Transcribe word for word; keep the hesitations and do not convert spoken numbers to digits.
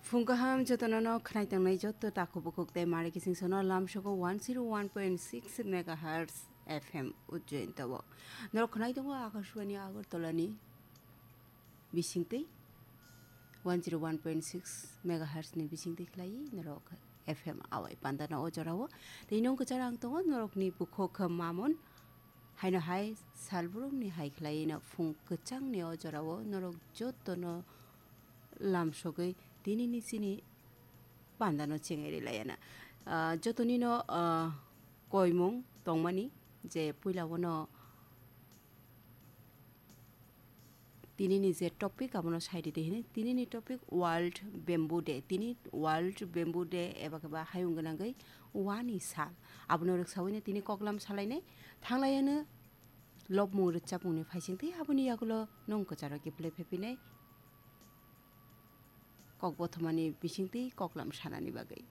Phung kaham jotono no khnai tongnai joto takhuk bukhuk tei mari kising sono lamsogo one zero one point six megahertz F M Ujjain tabo. Norok khnai tongo Akashwani Agartala ni bisingtwi one zero one point six megahertz ni bisingtwi khlai norok F M awai panda no o jorao. Tei nong kwchar ang tongo norok ni bukhuk mamon haino hai salbrumni hai khlai no phung kwchangni o jorao norok jotono lamsogwi tinini chini pandano chengai rilaiana. Ah, jotonino, ah, koimung tongmani je puilao no tinini je topic abono sai ridi hini. Tinini topic World Bamboo Day. Tini World Bamboo Day eba khe ba hayung gwnangwi wani sal. Abono rwksawi no tini koklam salainai thanglaiano lobmung rwchapmungni phaisingtwi aboni yagulo nong kwcharo kiphilwi phephinai. Kok bothomani bisingtwi koklam sanani bagwi.